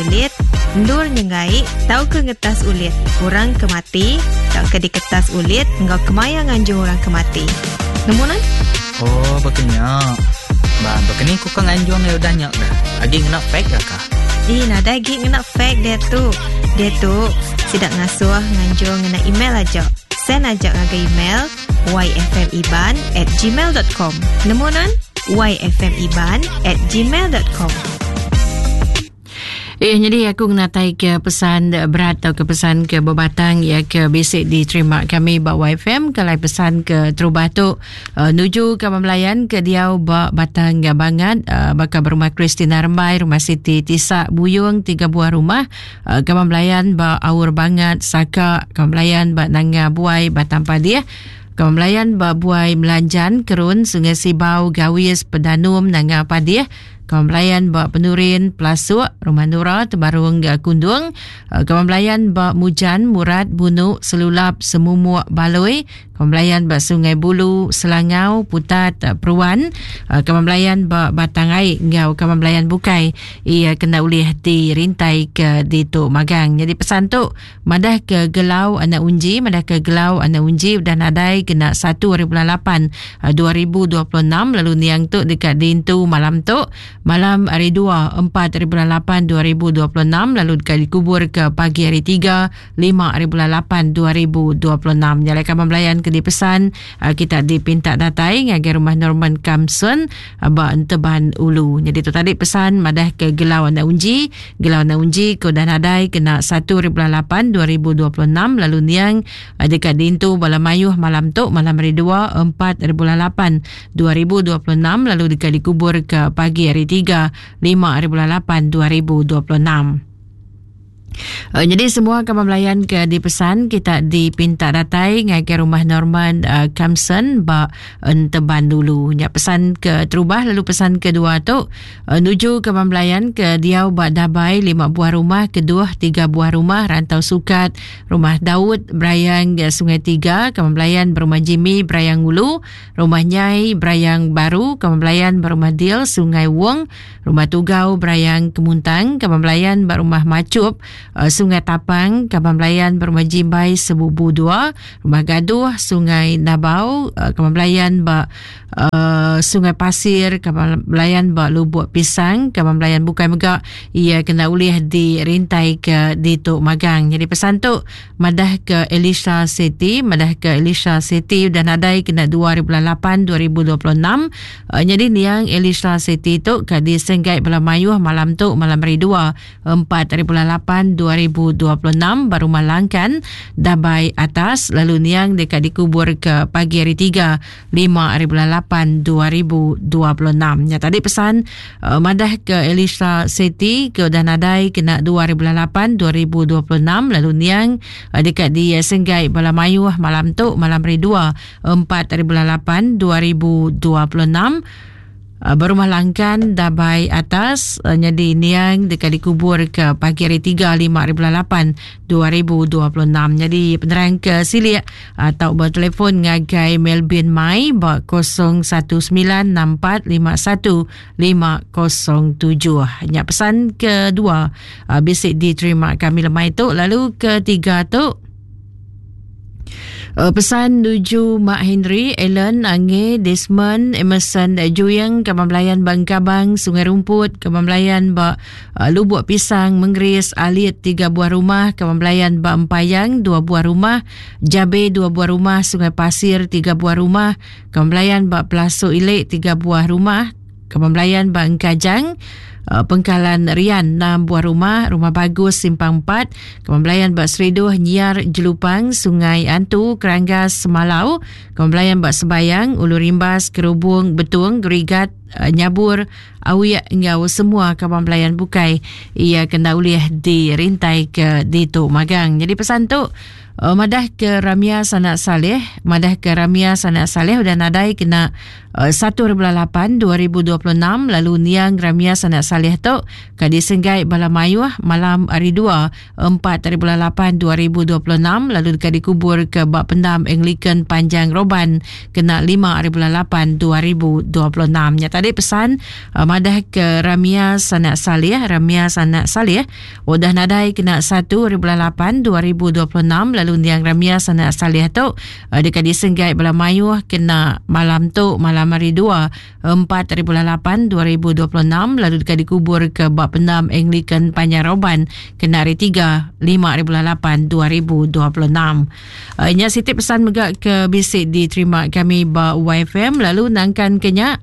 Ulit, endur nyenggai tauka ngetas ulit orang ke mati tauka diketas ulit enggau kemaya nganjung orang ke mati. Nemu nuan? Oh, baka nya. Ba, baka ni ku ka nganjung iya udah nya ga? Agi ngena fax ga ka? Ih, nadai agi ngena fax diatu. Diatu, sida ngasuh nganjung ngena email aja. Send aja ngagai email yfmiban at gmail dot com. Nemu nuan? yfmiban at gmail dot com. Eh, jadi aku ngenatai ke pesan berat atau ke pesan ke bebatang ya ke bisi diterima kami ba YFM ke lai pesan ke terubah tu uh, nuju ke pembelayan ke diau ba Batang Bangat uh, baka berumah Christina Rembai, rumah Siti Tisa Buyung tiga buah rumah uh, ke pembelayan ba Aur Bangat Saka, ke pembelayan ba Nanga Buai Batang Padih ke pembelayan ba Buai Melanjan Kerun Sungai Sibau Gawis Pedanum Nanga Padih Kawan belayan ba Penurin, Pelasuk, Rumah Nura, Tebarung Kundung. Eh, kawan belayan ba Mujan, Murat, Bunu, Selulap, Semumuk, Baloi. Kawan belayan ba Sungai Bulu, Selangau, Putat, eh, Peruan. Eh, kawan belayan ba Batang Ai enggau kawan belayan bukai ia kena ulih dirintai ke ditu magang. Jadi pesan tu Madah ke Gelau Anak Unji Madah ke Gelau Anak Unji udah nadai kena satu hari bulan lapan 2026 lalu niang tu deka diintu malam tu malam hari dua empat hari bulan lapan 2026 lalu deka dikubur ke pagi hari tiga lima hari bulan lapan 2026. Nya alai kaban belayan ke dipesan kita dipinta datai ngagai rumah Norman Kamson ba Enteban Ulu. Nyadi tu tadi pesan madah ke Gelau Anak Unji Gelau Anak Unji ke udah nadai kena satu hari bulan lapan 2026 lalu niang eh, deka diintu bala mayuh malam tu malam hari dua empat hari bulan lapan 2026 lalu deka dikubur ke pagi hari tiga lima hari bulan lapan 2026. Uh, jadi semua kaban belayan ke dipesan kita dipinta datai ngagai rumah Norman uh, Kamson ba Enteban dulu. Nya pesan ke terubah lalu pesan kedua tu uh, nuju kaban belayan ke diau ba Dabai lima buah rumah, keduh tiga buah rumah Rantau Sukat, rumah Daud Berayang Sungai Tiga, kaban belayan berumah Jimmy Berayang Ulu, rumah Nyai Berayang Baru, kaban belayan berumah Dil Sungai Wong, Rumah Tugau Berayang Kemuntang, Kaban Belayan ba Rumah Machup, eh, Sungai Tapang, Kaban Belayan ba Rumah Jimbai Sebubu Dua, Rumah Gaduh, Sungai Nabau, eh, Kaban Belayan ba eh, Sungai Pasir, Kaban Belayan ba Lubuk Pisang, Kaban Belayan bukai mega ia kena ulih dirintai ke ditu magang. Jadi pesan tu madah ke Elisha Seti, madah ke Elisha Seti udah nadai kena 2 hari bulan 8 2026 Nyadi niang Elisha Siti tu ka disenggai bala mayuh malam tu malam hari dua, empat hari bulan lapan 2026 ba Rumah Langkan, Dabai Atas lalu niang deka dikubur ke pagi hari tiga, lima hari bulan lapan 2026. Nya tadi pesan madah ke Elisha Siti ke udah nadai kena dua hari bulan lapan 2026 lalu niang deka disenggai bala mayuh malam tu malam hari dua, 4 ari bulan 8 2026 berumah Langkan Dabai Atas nyadi niang deka dikubur ke pagi hari 3 5 ari bulan 8 2026 nyadi penerang ke silik tau bertelefon ngagai Melvin Mai ba 0196451507 nya pesan kedua bisi diterima kami lemai tu lalu ketiga tu Eh, pesan nuju Mak Henry, Allen, Ange, Desmond, Emerson, Juing, Kaban Belayan ba Engkabang, Sungai Rumput, Kaban Belayan ba eh, Lubuk Pisang, Mengris, Alit, tiga buah rumah, Kaban Belayan ba Empayang, dua buah rumah, Jabe, dua buah rumah, Sungai Pasir, tiga buah rumah, Kaban Belayan ba Pelasuk Ilik, tiga buah rumah, Kaban Belayan ba Engkajang, eh, Pengkalan Rian, enam buah rumah, Rumah Bagus, Simpang 4, Kaban Belayan ba Seriduh, Nyiar, Jelupang, Sungai Antu, Keranggas, Semalau, Kaban Belayan ba Sebayang, Ulu Rimbas, Kerubung, Betung, Gerigat, eh, Nyabur, Awiek enggau semua kaban belayan bukai ia kena ulih dirintai ke ditu magang. Jadi pesan tu. Madah ke Ramia Sanak Saleh, madah ke Ramia Sanak Saleh udah nadai kena 1 hari bulan 8 2026 lalu niang Ramia Sanak Saleh tu ka disenggai bala mayuh malam hari 2 4 hari bulan 8 2026 lalu deka dikubur ke ba pendam Anglican Panjang Roban kena 5 hari bulan 8 2026. Nya tadi pesan madah ke Ramia Sanak Saleh, Ramia Sanak Saleh Udah nadai kena 1 hari bulan 8 2026 lalu Niang Ramia Sanak Saleh tu eh, deka disenggai bala mayuh kena malam tu malam hari 2 4 hari bulan 8 2026 lalu deka dikubur ke ba pendam Anglican Panjang Roban kena hari 3 5 hari bulan 8 2026. Uh, nya siti pesan mega ke bisi diterima kami ba YFM lalu nangkan ke nya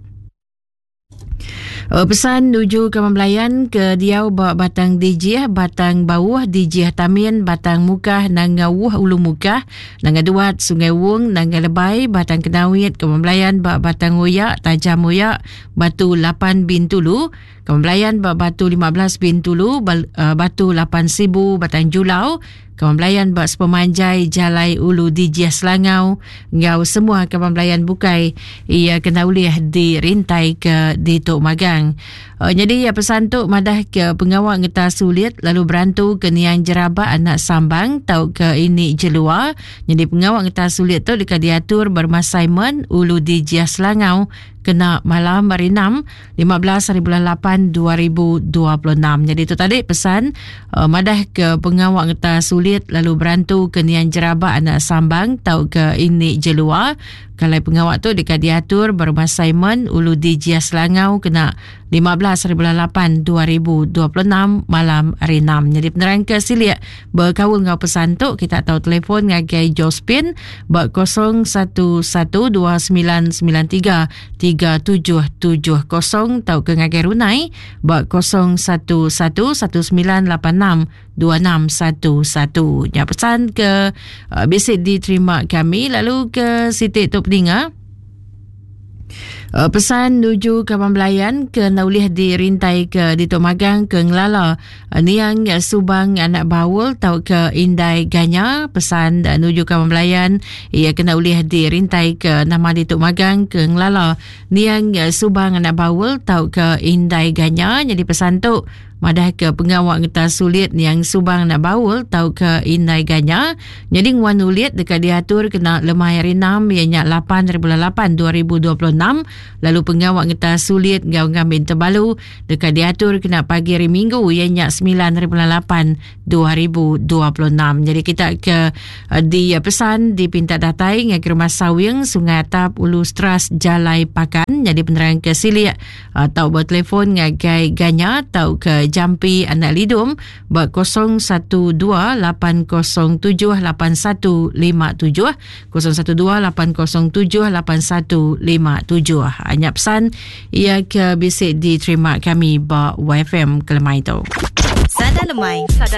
Pesan nuju ke Belayan ke diau ba Batang Dijih, Batang Bauh, Dijih Tamin, Batang Mukah, Nanga Wuh Ulu Mukah, Nanga Duat, Sungai Wung, Nanga Lebai, Batang Kenawit, ke Belayan ba Batang Oyak, Tajam Oyak, Batu 8 Bintulu, ke Belayan ba Batu 15 Bintulu, Batu 8 Sibu, Batang Julau, Kaban belayan ba sepemanjai Jalai Ulu Dijih Selangau enggau semua kaban belayan bukai iya kena ulih dirintai ke ditu magang. Nyadi iya pesan tu madah ke pengawa ngetas sulit lalu berantu ke niang Jerabak anak Sambang tauka ini Jelua. Nyadi pengawa ngetas sulit tu deka diatur ba Rumah Simon Ulu Dijih Selangau kena malam hari 6 15 hari bulan 8 2026. Jadi tu tadi pesan uh, madah ke pengawa ngeta sulit lalu berantu ke nian jerabak anak sambang tau ke ini jelua. Kalau pengawa tu deka diatur berumah Simon Ulu di Jia Selangau kena 15 hari bulan 8 2026 malam hari 6. Jadi penerang ke silik Bekaul enggau pesan tu, kita tau telefon ngagai Jospin ba 0112993770 tauka ngagai Runai ba 0111986261. Nya pesan ke uh, bisi diterima kami lalu ke siti tu peninga. Pesan nuju kaban belayan ke enda ulih dirintai ke ditu magang ke ngelala niang Subang anak Baul tauka Indai Ganya pesan nuju kaban belayan iya ke enda ulih dirintai ke nama ditu magang ke ngelala niang Subang anak Baul tauka Indai Ganya nyadi pesan tu Madahka pengawa ngetas sulit niang Subang anak Baul tauka Indai Ganya nyadi nguan ulit deka diatur kena lemai hari enam iya nya lapan hari bulan lapan 2026 lalu pengawa ngetas sulit enggau ngambi tebalu deka diatur kena pagi hari Minggu iya nya semilan hari bulan lapan 2026. Jadi kita ke eh, di eh, pesan dipinta datai ngagai rumah Sawing Sungai Atap Ulu Stras Jalai Pakan jadi penerang ke silik tau betelefon ngagai Ganya tau ke Jampi Anak Lidum ba 0128078157 0128078157. Nya pesan ia ke bisi diterima kami ba YFM kelemai tu. Sada Lemai. Sada.